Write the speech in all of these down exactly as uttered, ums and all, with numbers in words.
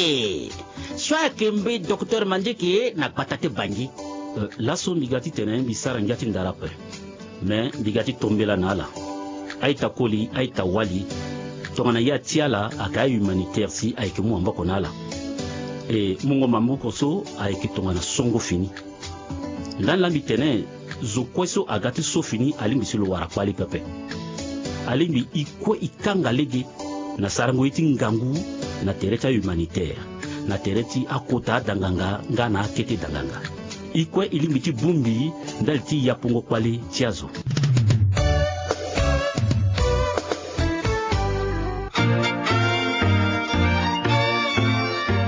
Ee, so ayeke mbe docteur Mandieke na gbata ti Bangui. Laso mbi ga titene mbi sara ngia ti ndara ape. Me mbi ga ti tombela na ala. A-ita koli, a-ita wali. Tongana ye ati ala ayeke a-humanitaire si ayeke mu maboko na ala. E mungo maboko so ayeke tongana songo fini. Ndani laa mbi tene zo kue so aga ti so fini alingbi si lo wara kpali pepe. Alingbi e kue e kanga lege na sarango ye ti ngangu na tere ti ahumanitaire, na tere ti akota adanganga nga na akete danganga. E kue e lingbi ti bongbi ndali ti yapongo kpali ti azo.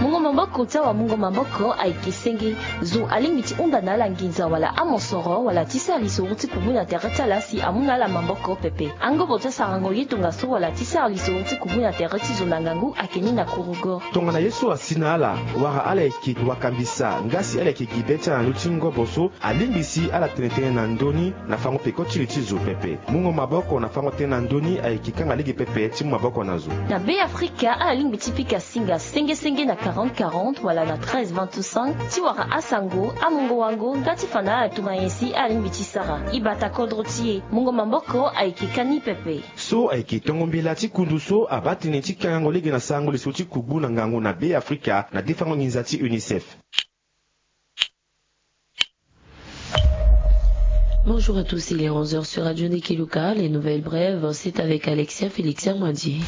Mungo maboko ti awamungo maboko ayeke senge. Zo alingbi ti hunda na ala nginza wala amosoro wala ti sara lisoro ti kubu na tere ti ala si amu na ala maboko pepe. Angobo ti asarango ye tongaso wala ti sara lisoro ti kubu na tere ti zo na ngangu ayeke ni na kurugo. Tongana ye so asi na ala wala ala yeke wakambisa nga si ala yeke gi be ti ala na ndö ti ngobo so, alingbi si ala tene tënë na ndö ni na fango peko ti li ti zo pepe. Mungo maboko na fango tënë na ndö ni ayeke kanga lege pepe ti mu maboko na zo. Na Be Afrika ala lingbi ti pika singa senge senge na quarante quarante wala na treize vingt-cinq ti wara asango, amungo wango nga ti fa na ala tongana nyen si ala lingbi ti sara. E bata kodro ti e. Mungo maboko ayeke ka ni pepe. So ayeke tongo mbela ti kundu so abaa tënë ti kangango lege na sarango lisoro ti kubu na ngangu na Be Afrika na defango nginza ti UNICEF. Bonjour à tous, il est onze heures sur Radio Ndekeluka. Les nouvelles brèves, c'est avec Alexia Félixia Mwandi.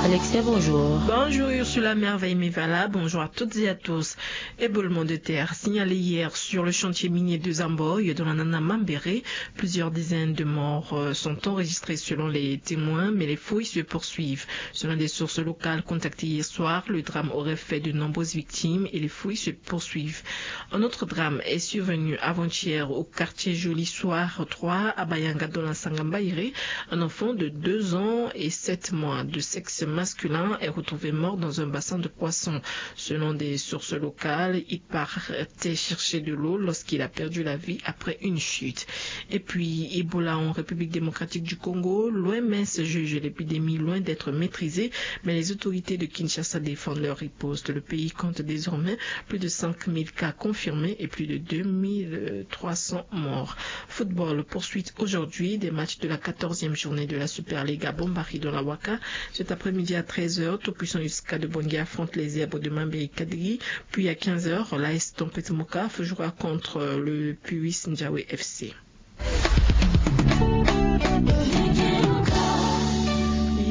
Alexia, bonjour. Bonjour Ursula Merveille Mevala, bonjour à toutes et à tous. Éboulement de terre signalé hier sur le chantier minier de Zamboy, dans la Nana Mambéré. Plusieurs dizaines de morts sont enregistrés selon les témoins, mais les fouilles se poursuivent. Selon des sources locales contactées hier soir, le drame aurait fait de nombreuses victimes et les fouilles se poursuivent. Un autre drame est survenu avant-hier au quartier Joli Soir trois à Bayanga dans la Sangambaïré. Un enfant de deux ans et sept mois de sexe masculin est retrouvé mort dans un bassin de poissons. Selon des sources locales, il partait chercher de l'eau lorsqu'il a perdu la vie après une chute. Et puis, Ebola en République démocratique du Congo, l'OMS juge l'épidémie loin d'être maîtrisée, mais les autorités de Kinshasa défendent leur riposte. Le pays compte désormais plus de cinq mille cas confirmés et plus de deux mille trois cents morts. Football, poursuite aujourd'hui des matchs de la quatorzième journée de la Super League à Bombari dans la Waka. Cet après-midi à treize heures, Tout Puissant Yuska de Bangui affronte les Zèbres de Mambéry Kadiri. Puis à quinze heures, l'A S Tempête Mokaf jouera contre le Puis Ndjawe F C.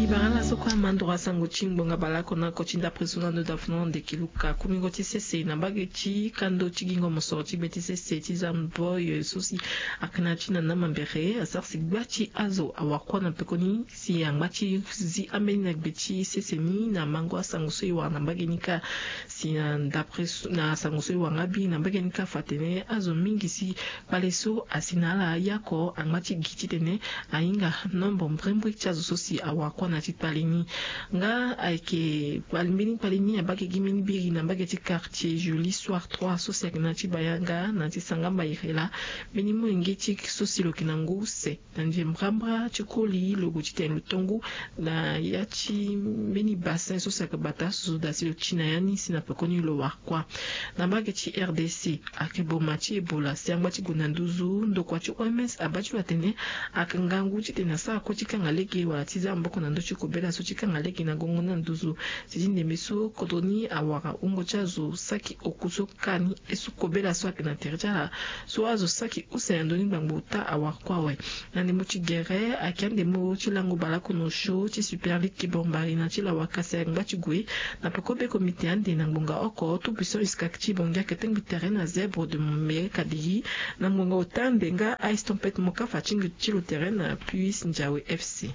Ibara na soko amandro asango ti ngbonga balako na oko ti ndapre so na ndo dafuno ndeki luka kumingo ti sese na mbage ti kando ti gingo mosoro ti be ti sese ti zamboy so si akena ti na na mambere asara si gba ti azo awakua na pekoni si angba ti zi ambeni na gbe ti sese ni na mango asango so e wara na mbage ni kâ. Si na ndapre na asango so e wara nga bi na mbage ni kâ fa atene azo mingi si kpale so asi na ala yako angba ti gi titene ahinga nombo mbrimbri ti azo so si awakua na ti kpale ni. Nga ayeke mbeni kpale ni abake gi mbeni biri na mbage ti quartier Joli Soir trois so si ayeke na ti bayanga na ti sanga mbayere laa. Mbeni molenge ti so si lo yeke na ngu use na nze mbrambra ti koli lo gue titene lo tongu na ya ti mbeni bassin so si ayeke bata asoso daa si lo ti na ya ni si na pekoni lo wara kuâ. Na mbage ti rdc ayeke boma ti ebola si angba ti gue na nduzu ndokua ti oms abaa ti lo atene ayeke ngangu titene asara kue ti kanga lege wala ti za maboko na ndö ti kobela so ti kanga lege na gongo ni na nduzu. Si ti ndembe so kodro ni awara wungo ti azo saki oku so kani e so kobela so ayeke na tere ti ala so azo saki use na ndö ni ngbangbo ota awara kuâ awe. Na ndembo ti gere ayeke andembo ti lango baleoko na osio ti super ligue ki bombari na ti lawaka si angba ti gue na peko be komite ande na ngbonga oko tout puissant uskak ti bongi ayeke tengbi tere na zèbre de mombere kadiri na ngbonga ota ande nga ice tempête moka fa ti ngi ti lo tere na puis ndiawe fc.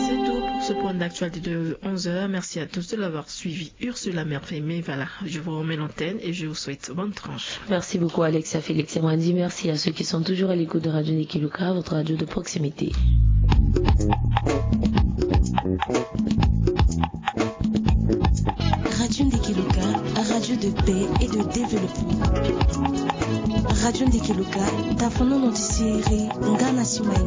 C'est tout pour ce point d'actualité de onze heures. Merci à tous de l'avoir suivi. Ursula Merveille Mevala, je vous remets l'antenne et je vous souhaite bonne tranche. Merci beaucoup Alexia Félix Mwandi. Merci à ceux qui sont toujours à l'écoute de Radio Ndekeluka, votre radio de proximité. Radio Ndekeluka, radio de paix et de développement. Radio Ndekeluka, tafonono ti sere nga na simaye.